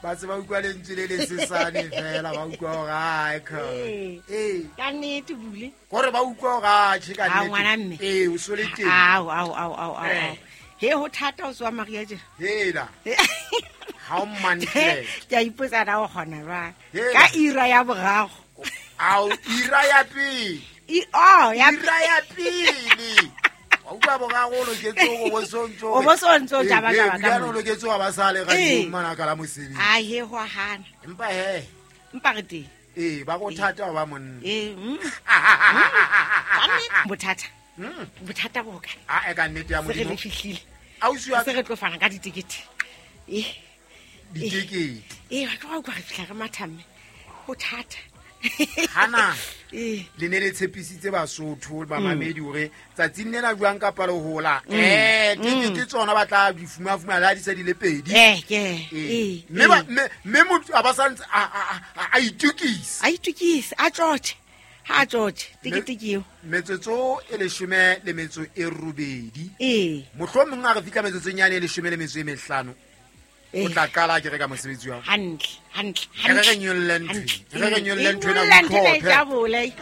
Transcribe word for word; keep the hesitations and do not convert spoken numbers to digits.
Ba se ba utlwa lentswe le le sesane fela ba utlwa hore ai ka. Eh. Ka nnete bule. Kore ba utlwa hore a tjhe ka nnete. Ngwana mme. Eh, o sole teng. Ao ao ao ao ao. He ho thata o tswa Maria je. Hela. Ha o mantle. Ke a ipotsa na o kgona jwang. Ka ira ya boraro. Ao ira ya pele. I oh ya ira ya pele. Wa utlwa boraro o loketse hore bo sontso. O bo sontso jaba jaba ka. O loketse wa ba sale ga di mana ka la mosebetsi. A he ho hana. Empa he. Empa re teng. Eh ba go thata ba monna. Eh. Bothata. Bothata bo kae? A e ka nnete ya Modimo. Se re fihlile. Ausi wa se re tlo fana ka ditikete. Eh. Ditikete. Eh ba tlo go re fihla re mathamme. Bothata. Hana. Eh. Le ne le tshepisitse Basotho ba mamedi hore tsatsing lena jwang ka palo hola. Eh tikete tsona ba tla di fuma fuma la di se di le pedi. Eh ke. Eh. Mme ba mme motho a ba santse a a itukisa. A itukisa a tjotje. Ha tjotje tikete ke eo. Metsotso e leshome le metso e robedi. Eh. Mohlomong a re fihla metsotsong yane e leshome le metso e mehlano. O tla qala ke re ka mosebetsi wa. Hantle, hantle, hantle. Re re nyolle ntho. Re re nyolle ntho ena. Ntho e jabole.